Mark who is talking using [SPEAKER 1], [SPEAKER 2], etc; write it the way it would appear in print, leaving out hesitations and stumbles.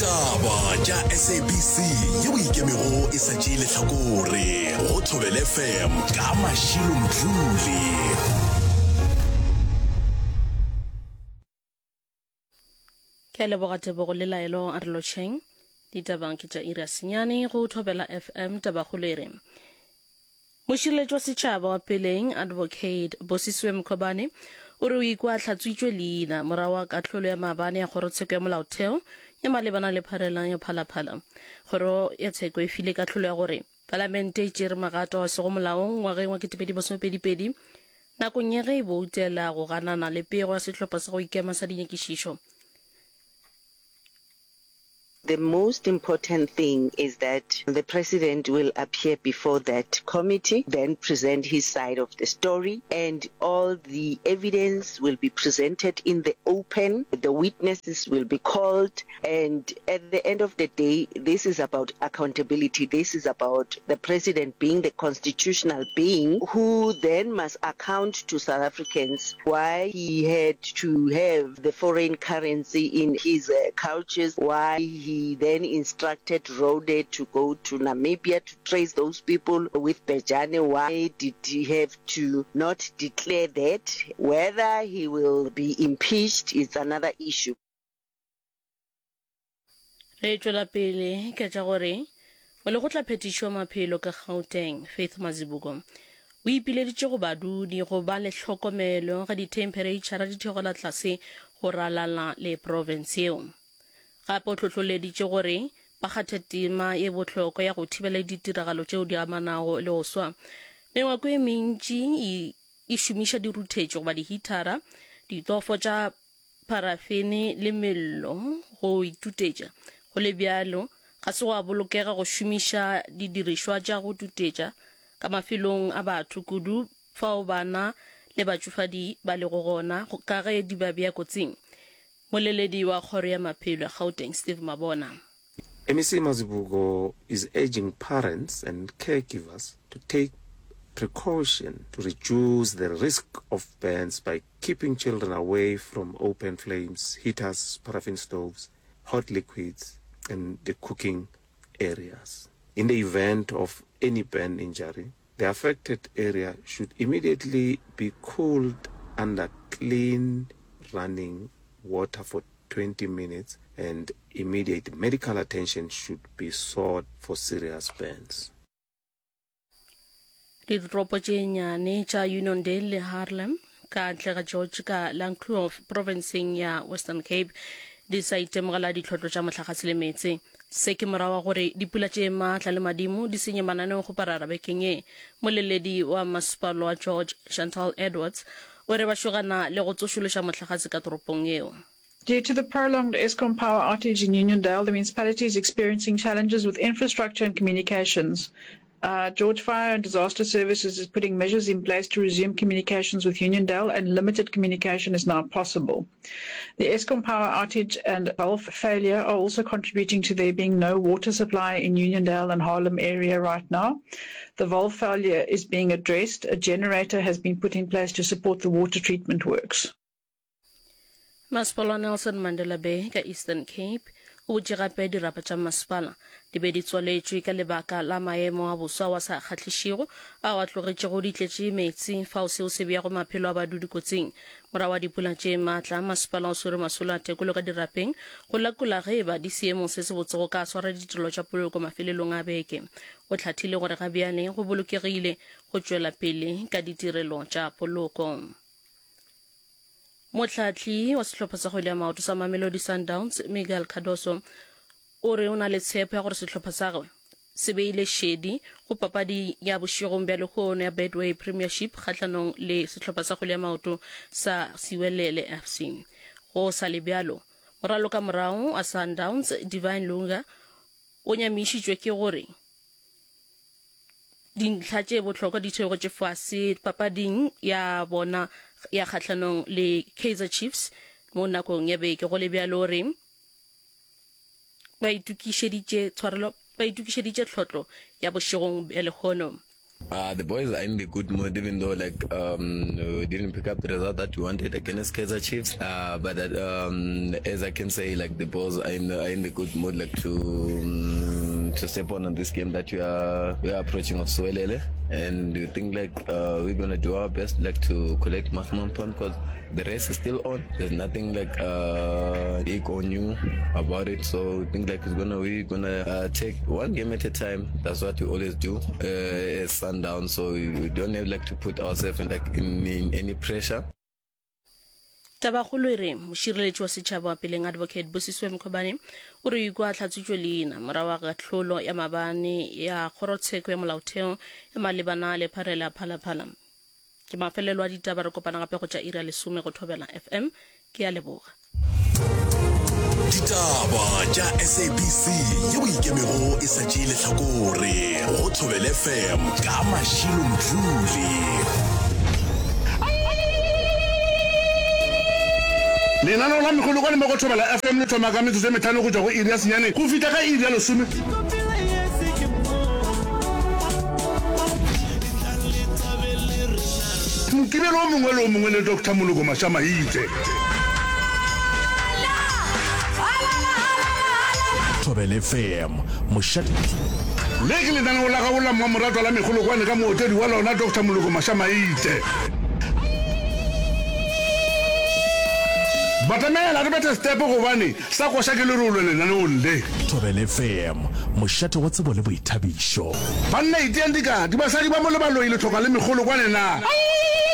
[SPEAKER 1] Ditaba tša SABC yeo e ikemego e sa tšee lehlakore go Thobela FM ka Mashilo Mdluli.
[SPEAKER 2] Ke a leboga Tebogo le Laelo a re lotšheng. Ditabang ke tša iri ya senyane go Thobela FM tabakgolo e re Mošireletši wa setšhaba wa peleng Advocate Bosisiwe Mkhwebane o re o ikwa a hlatswitšwe leina morago ga kahlolo ya maabane ya kgorotsheko ya molaotheo ya malebana le pharela ya Phalaphala. Kgoro ya tsheko e file kahlolo ya gore palamente e tšere magato a sego molaong ngwageng wa 2022 nakong ya ge e boutela go ganana le pego ya sehlopha sa go ikema sa dinyakišišo.
[SPEAKER 3] The most important thing is that the president will appear before that committee, then present his side of the story, and all the evidence will be presented in the open, the witnesses will be called, and at the end of the day, this is about accountability, this is about the president being the constitutional being who then must account to South Africans why he had to have the foreign currency in his uh, couches, why he then instructed Rode to go to Namibia to trace those people with Bejane, why did he have to not declare that? Whether he will be impeached is another issue.
[SPEAKER 2] Re tšwela pele ka tša gore molekgotlaphethiši wa maphelo ka Gauteng, Faith Mazibuko, o ipileditše go badudi go ba le hlokomelo ge dithemphereitšhara di theogela tlase go ralala le profense yeo. Gape o hlohloleditše gore ba kgathe tema ye bohlokwa ya go thibela ditiragalo tšeo di amanago le go swa. Mengwako e mentši e šomiša diruthetši goba dihithara, ditofo tša parafene le mello go itutetša. Go le bjalo, ga se gwa bolokega go šomiša didirišwa tša go tutetša ka mafelong a batho, kudu fao bana le batšofadi ba lego gona, ka ge di ba bea kotsing. Moleledi wa Kgoro ya Maphelo ya Gauteng, Steve Mabona.
[SPEAKER 4] MEC Mazibuko is urging parents and caregivers to take precaution to reduce the risk of burns by keeping children away from open flames, heaters, paraffin stoves, hot liquids and the cooking areas. In the event of any burn injury, the affected area should immediately be cooled under clean running water for 20 minutes and immediate medical attention should be sought for serious burns.
[SPEAKER 2] Ditoropo tše nnyane tša Uniondale le Haarlem ka ntle ga George ka Langkloof profenseng ya Western Cape di sa itemogela ditlhotlo tša mohlagase le meetse. Se ke morago ga gore dipula tše maatla le madimo di senye mananeo go parara bekeng ye. Moleledi wa masepala wa George, Chantal Edwards, o re ba šogana le go tsošološa mohlagase ka toropong yeo.
[SPEAKER 5] Due to the prolonged Eskom power outage in Uniondale, the municipality is experiencing challenges with infrastructure and communications. Uh, George Fire and Disaster Services is putting measures in place to resume communications with Uniondale, and limited communication is now possible. The Eskom power outage and valve failure are also contributing to there being no water supply in Uniondale and Harlem area right now. The valve failure is being addressed. A generator has been put in place to support the water treatment works.
[SPEAKER 2] Masepala wa Nelson Mandela Bay ka Eastern Cape o butše gape dirapa tša masepala di be di tswaletšwe ka lebaka la maemo a boso ao a sa kgahlišego ao a tlogetšego di tletše meetse fao seo se beago maphelo a badudi kotsing. Morago ga dipula tše maatla, masepala o swere masolo a tekolo ka dirapeng go lekola ge e ba di seemong se sebotse go ka swara ditirelo tša poloko mafelelong a beke. O hlathile gore ga bjale go bolokegile go tšwela pele ka ditirelo tša poloko. Mohlahli wa sehlopha sa kgwele ya maoto sa Mamelodi Sundowns, Miguel Cardoso, o re o na le tshepo ya gore sehlopha sa gagwe se beile šedi go papadi ya bošegong bja lehono ya Betway Premiership kgahlanong le sehlopha sa kgwele ya maoto sa Siwelele FC. Go sa le bjalo, moralokamorago wa Sundowns, Divine Lunga, o nyamišitšwe ke gore Dintlha tše bohlokwa di theogetše fase papading ya bona ya kgahlanong le Kaizer Chiefs mo nakong ya beke. Go le bjalo o re ba itokišeditše tshwarelo ba itokišeditše tlhotlo ya bošegong bja lehono.
[SPEAKER 6] Uh, the boys are in the good mood, even though like um, we didn't pick up the result that we wanted against Kaizer Chiefs. Uh, but that, um, as I can say, like the boys are in the, are in the good mood, like to um, to step on on this game that we are we are approaching of Siwelele, and we think like uh, we're gonna do our best, like to collect maximum points because the race is still on. There's nothing like uh, big or new about it. So we think like it's gonna we're gonna uh, take one game at a time. That's what we always do uh, as Sundown. So we, we don't have like to put ourselves in like in, in any pressure.
[SPEAKER 2] Tabakgolo e re mošireletši wa setšhaba wa peleng Advocate Busisiwe Mkhwebane o re o ikwa a hlatswitšwe leina morago ga kahlolo ya maabane ya kgorotsheko ya molaotheo ya malebana le pharela ya Phalaphala. Ke mafelelo a ditaba, re kopana gape go tša iri ya lesome go Thobela FM. Ke a leboga.
[SPEAKER 1] Ditaba tša SABC yeo e ikemego e sa tšee lehlakore go Thobela FM ka Mashilo Mdluli.
[SPEAKER 7] Lenaneo la Megolokwane mo go Thobela FM le thoma ka metsotso e mehlano go tšwa go iri ya senyane go fihla ka iri ya lesome. Mokibelo o mongwe le o mongwe le Doctor Moloko Mashamaite.
[SPEAKER 1] Thobela FM, mošate.
[SPEAKER 7] Le ke lenaneo la gago la mmamoratwa la Megolokwane ka mootledi wa lona Doctor Moloko Mashamaite. Batamela re bethe stepe gobane Sa koša ke lerole lenaneong le.
[SPEAKER 1] Thobela FM, mošate wa tsebo le boithabišo.
[SPEAKER 7] Banna iteang dikati, basadi ba mo le baloi le hloka le megolokwane na?